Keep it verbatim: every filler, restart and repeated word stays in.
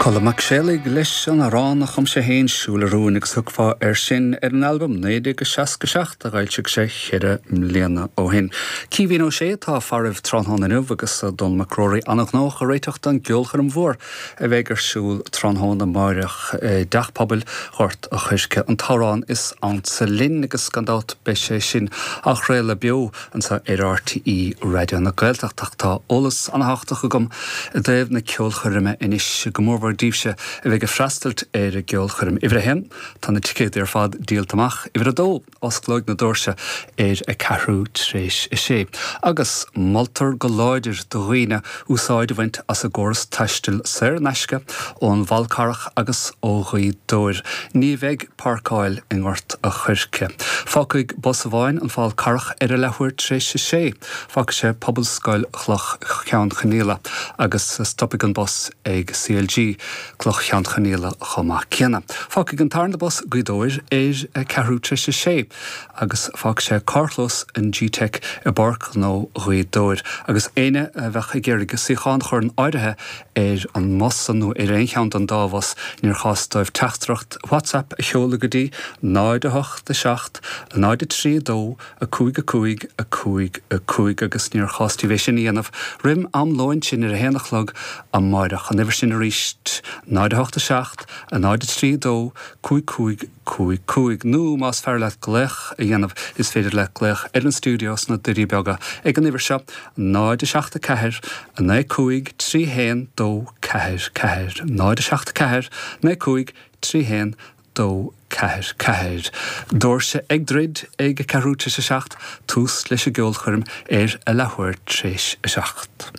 Colm Mac Séalaigh leis an amhrán a chum sé féin Siúl a Rúin agus thiocfá air sin ar an albam naoi déag seasca seacht a d'fhoilsigh sé ceithre bliana ó shin. Caoimhín Ó Sé atá faraibh tráthnóna inniu agus Dónall Mac Ruairí an-ghnóthach ag réiteach don gceolchoirm mhór a bheidh ar siúl tráthnóna amáireach i dTeach Pobail Ghort a' Choirce an t-amhrán is ansa linn agus gan dabht beidh sé sin á chraoladh beo anseo ar RTÉ Raidió na Gaeltachta tá eolas an-tábhachtach agam i dtaobh na ceolchoirme anois go mórmhór daoibhse a bheidh ag freastal ar an gceolchoirm. Uimhir a haon tá na ticéid ar fad díolta amach uimhir a dó osclóidh na doirse ar a ceathrú tar éis a sé. Agus moltar go láidir do dhaoine úsáid a bhaint as an gcóras taistil saor in aisce ón bhFál Carrach agus ó Ghaoth Dobhair. Ní bheidh páirceáil i nGort a' Choirce. Fágfaidh bus amháin an Fál Carrach ar a leathuair tar éis a sé. Fágfaidh sé Pobalscoil Chloich Cheann Fhaola agus stopfaidh an bus ag CLG Cloich Cheann Fhaola chomh maith céanna. Fágfaidh an tarna bus Gaoth Dobhair ar a ceathrú tar éis a sé agus fágfaidh sé carrchlós an GTeic i bPáirc Ghnó Ghaoth Dobhair agus éinne a bheadh ag iarraidh suíochán a chur in áirithe ar an mbus nó ar aon cheann den dá bhus níor chás dóibh teachtaireacht WhatsApp a sheoladh go dtí náid a hocht a seacht náid a trí dó a cúig a cúig a cúig a cúig agus níor chás daoibh é sin a dhéanamh roimh am lóin sin ar a haon a chlog amáireach an uimhir sin arís náid a hocht a seacht a náid a trí dó cúig cúig cúig cúig nó más fearr leat glaoch a dhéanamh is féidir leat glaoch ar an stiúideo sna Doirí Beaga ag an uimhir seo náid a seacht a ceathair a naoi cúig trí haon dó ceathair ceathair náid a seacht ceathair naoi cúig trí haon dó ceathair ceathair. Doirse ag druid ag a ceathrú tar éis a seacht tús leis an gceolchoirm ar a leathuair tar éis a seacht.